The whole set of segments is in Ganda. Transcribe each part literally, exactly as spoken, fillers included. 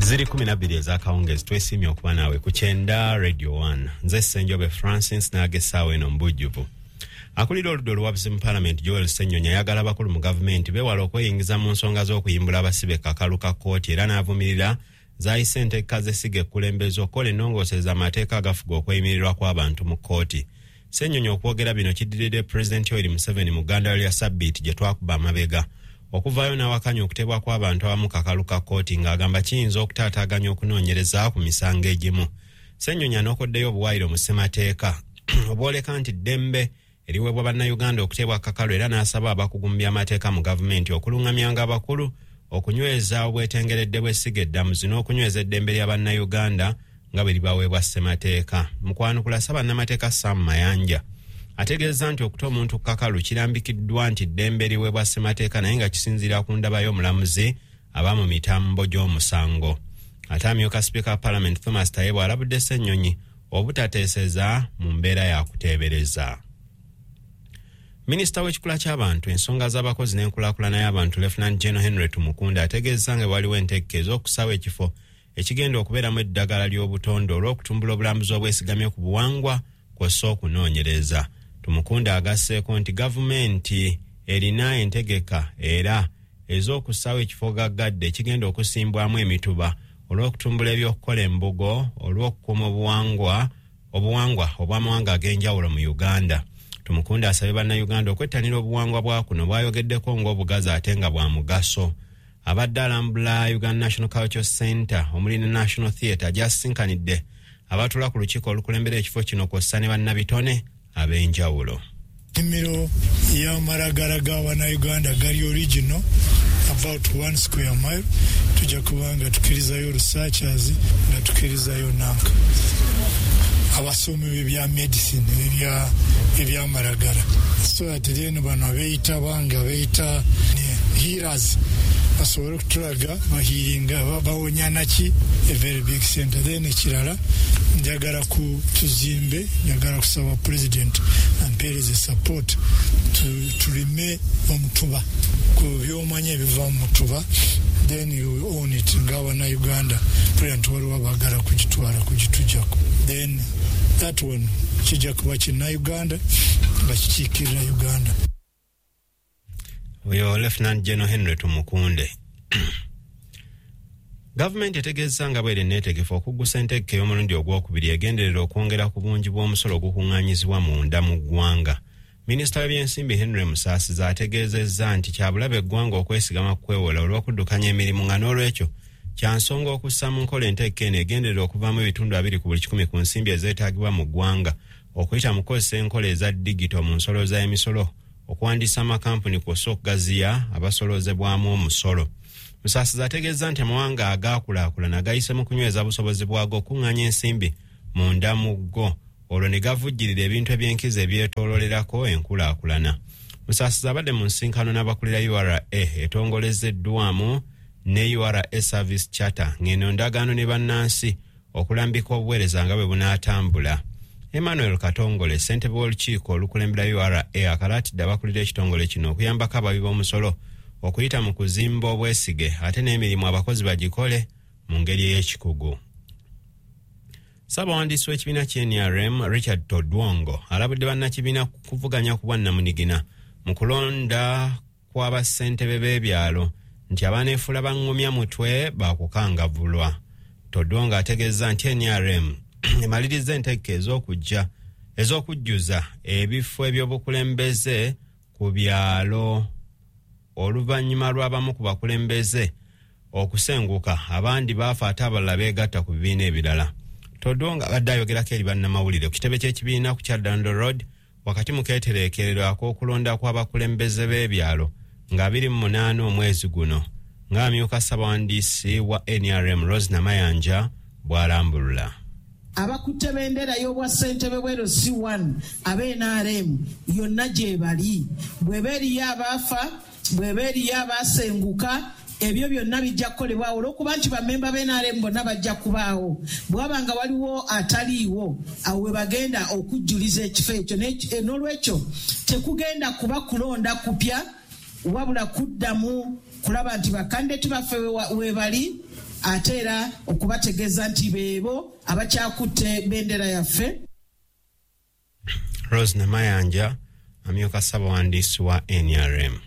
Ziri kumi na bbiri ez'akawungeezi. Twesiimye okuba naawe ku Kyenda Radio one. Nze Ssenjobe Francis, n'ag'essaawa eno mu bujjuvu. Akulira oludda oluwabuzi mu Paalamenti, Joel Ssennyonyi, ayagala abakulu mu gavumenti beewala okweyingiza mu nsonga z'okuyimbula abasibe kakalu ka kkooti, era n'avumirira zayise enteeka z'essiga ekkulembeze okukola ennongoosereza amateeka agafuga okweyimirirwa kw'abantu mu kkooti. Ssennyonyi okwogera bino kiddiridde Pulezidenti Yoweri Museveni mu ggandalo lya sabbiiti gye twakuba amabega okuvaayo n'awakanya okuteebwa kw'abantu abamu kakalu ka kkooti, ng'agamba kiyinza okutaataaganya okunoonyereza ku misango egimu. Ssennyonyi anokoddeyo obuwaayiro mu ssemateeka obwoleka nti ddembe eriweebwa Bannayuganda okuteebwa kakalu, era n'asaba abakugu mu by'amateeka mu gavumenti okuluŋŋamyanga abakulu okunyweza obwetengeredde bw'essiga eddamuzi n'okunyweza eddembe lya Bannayuganda nga bwe libaweebwa ssemateeka. Mu kwanukula, Ssabannamateeka Sam Mayanja ategeeza nti okuta omuntu ku kakalu kirambikiddwa nti ddembe liweebwa ssemateeka, naye nga kisinziira ku ndaba y'omulamuzi aba mu mitambo gy'omusango. Ate amyuka sipiika wa Paalamenti, Thomas Tayebwa, alabudde Ssennyonyi obutateeseza mu mbeera ya kuteebereza. Minisita w'ekikula ky'abantu, ensonga z'abakozi n'enkulaakulana y'abantu, Lieutenant General Henry Tumukunde, ategeeza nga waliwo entegeka ez'okusaawo ekifo ekigenda okubeeramu eddagala ly'obutonde olw'okutumbula obulambuzi obwesigamye ku buwangwa kw'ossa okunoonyereza. Tumukunde agasseeko nti gavumenti erina entegeka era ez'okussaawo ekifo gaggadde ekigenda okusimbwamu emituba olw'okutumbula ebyokukola embugo olw'okukuuma obuwangwa obuwangwa obw'amawanga ag'enjawulo mu Uganda. Tumukunde asabye Bannayuganda okwettanira obuwangwa bwa kuno bwayogeddeko ng'obugazi ate nga bwa mugaso. Abadde alambula Uganda National Cultural Center omuli ne National Theatre, gy'asisinkanidde abatuula ku lukiiko olukulembera ekifo kino kw'ossa ne bannabitone ab'enjawulo. Ennimiro y'amalagala g'Abannayuganda gali original, about one square mile. Tujja kuba nga tukkirizayo researchers, nga tukkirizayo nanka abasomi b'ebya medicine, ebyamalagala, so that then bano abeeyita banga beeyita healers basobole okutulaga bahealinga, bawonya naki. A very big center. Then ekirala, njagala ku tuzimbe, njagala kusaba President ampeereze support, tulime omutuba ku byomanyi ebiva mu mutuba, then you own it ng'Abannayuganda. President, waliwo abaagala kugitwala, kugitujjako. Then that one kijja kuba Kinnayuganda nga kikiikirira Uganda. Oyo Lieutenant General Henry Tumukunde. Gavumenti etegeeza nga bweri neetegefu okuggusa entegeka ey'omulundi ogwokubiri egenderera okwongera ku bungi bw'omusolo ogukuŋŋaanyizibwa munda mu ggwanga. Minisita w'ebyensimbi Henry Musaasizi ategeezezza nti kyabulabe eggwanga okwesigama ku kwewola olw'okuddukanya emirimu, nga n'olwekyo kya nsonga okussa mu nkola entegeka eno egenderera okuvaamu ebitundu abiri ku buli kikumi ku nsimbi ezeetaagibwa mu ggwanga okuyita mu kukozesa enkola eza digito mu nsolooza y'emisolo, okuwandiisa amakampuni kw'ossa okugaziya abasoloozebwamu omusolo. Musaasizi ategeezza nti amawanga agaakulaakulana gayise mu kunyweza busobozi bwago okuŋŋaanya ensimbi munda mu go, olwo ne gavujjirira ebintu ebyenkizo ebyetoololerako enkulaakulana. Musaasizi abadde mu nsinkano n'abakulira U R A etongolezeddwamu ne U R A Service Charter, ng'eno ndagaano ne bannansi okulambika obuweereza nga bwe bunaatambula. Emmanuel Katongole, ssentebe w'olukiiko olukulembera U R A, akalaatidde abakulira ekitongole kino okuyambako abawi b'omusolo okuyita mu kuzimba obwesige, ate n'emirimu abakozi bagikole mu ngeri ey'ekikugu. Ssaabawandiisi w'ekibiina ky'N R M, Richard Todwongo, alabudde bannakibiina kuvuganya ku bwannamunigina mu kulonda kw'abassentebe b'ebyalo nti abaneefuula baŋŋumya mutwe baakukangavvulwa. Todwongo ategeeza nti N R M emaliriza entegeka ez'okujja ez'okujjuza ebifo eby'obukulembeze ku byalo oluvannyuma lw'abamu ku bakulembeze okusenguka, abandi baafa ate abalala beegatta ku bibiina ebirala. Todwongo abadde ayogerako eri bannamawulire ku kitebe ky'ekibiina ku Kyaddondo Road wakati mu keetereekerero ak'okulonda kw'abakulembeze b'ebyalo nga abiri mu munaana omwezi guno, ng'amyuka ssabawandiisi wa N R M, Rose Namayanja, bw'alambulula. Abakutte bendera y'obwa ssentebe bwe L C one ab'N R M yonna gye bali, bw'eba eriyo abaafa, bw'eba eriyo abaasenguka, ebyo byonna bijja kukolebwawo olw'okuba nti bamemba b'N R M bonna bajja kubaawo. Bwaba nga waliwo ataliiwo, awo we bagenda okujjuliza ekifo ekyo. N'olwekyo tekugenda kuba kulonda kupya, wabula kuddamu kulaba nti bakandidate baffe we bali. Ate era okubategeeza nti beebo abakyakutte bendera yaffe. Rose Namayanja amyuka ssabawandiisi wa N R M.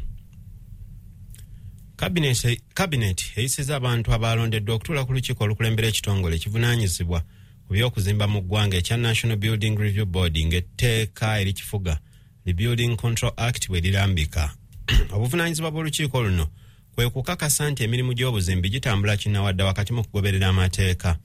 Cabinet eyisiza abantu abalondeddwa okutuula ku lukiiko olukulembera ekitongole ekivunaanyizibwa ku by'okuzimba mu ggwanga ekya National Building Review Board ng'etteeka erikifuga the Building Control Act bwe lirambika. Obuvunaanyizibwa bw'olukiiko luno kwe kukakasa nti emirimu gy'obuzimbi gitambula kinnawadda wakati mu kugoberera amateeka.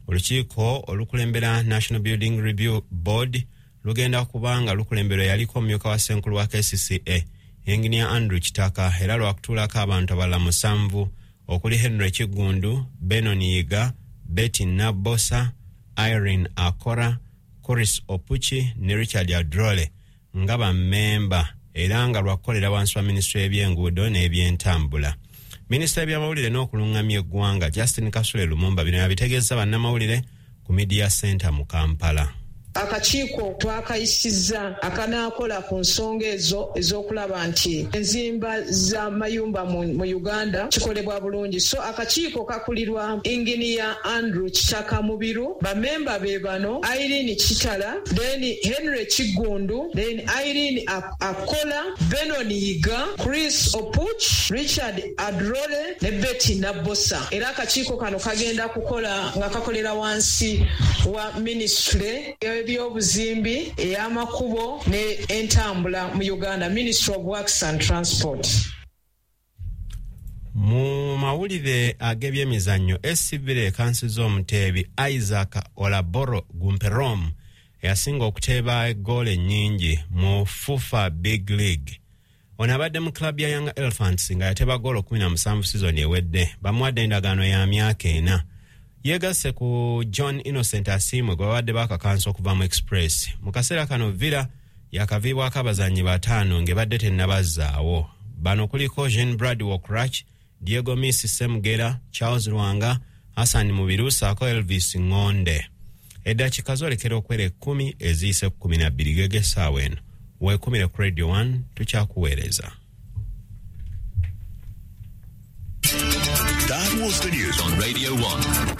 Olukiiko olukulembera National Building Review Board lugenda kubanga lukulemberwa yaliko omumyuka wa ssenkulu wa K C C A Engineer Andrew Kitaka, era lwakutuulako abantu abalala musanvu okuli Henry Kiggundu, Benon Yiga, Betty Nabosa, Irene Akora, Chris Opuchi ne Richard Adrole nga bammemba, era nga lwakukolera wansi wa minisitule y'ebyenguudo n'ebyentambula. Minisita y'ebyamawulire n'okulungamya eggwanga Justin Kasule Lumumba bino yabitegeeza bannamawulire ku Media Center mu Kampala. Akakiiko twakayisizza akanaakola ku nsonga ezo ez'okulaba nti enzimba z'amayumba mu Uganda kikolebwa bulungi. So akakiiko kakulirwa Engineer Andrew Kitaka Mubiru, bamemba be bano Irene Kitala, then Henry Kiggundu, then Irene Akola, Benon Yiga, Chris Opuch, Richard Adrole ne Betty Nabosa. Era akakiiko kano kagenda kukola nga kakolera wansi wa ministry ebyobuzimbi, ey'amakubo ne entambula mu Uganda, Ministry of Works and Transport. Mu mawulire ag'ebyemizannyo, S C Villa ekansiza omuteebi Isaac Olaboro Gumperom eyasinga okuteeba eggoolo ennyingi mu FUFA Big League. Ono abadde mu club ya Young Elephants nga yateeba ggoolo kumi na musanvu sizoni ewedde. Bamuwadde endagaano ya myaka ena. Yegasse ku John Innocent Asiimwe gwe babadde baakakansa okuva mu Express. Mu kaseera kano Villa yakaviibwako abazannyi bataano ng'ebadde tennabazzaawo. Bano kuliko Jean Brad Wokrach, Diego Messi Semugera, Charles Lwanga, Hassan Mubiru ssaako Elvis Ngonde. Eddakiika zoolekera okwera ekkumi eziyise ku kkumi na bbiri gege essaawa eno. Weekumire ku Radio one tukyakuweereza. That was the news on Radio one.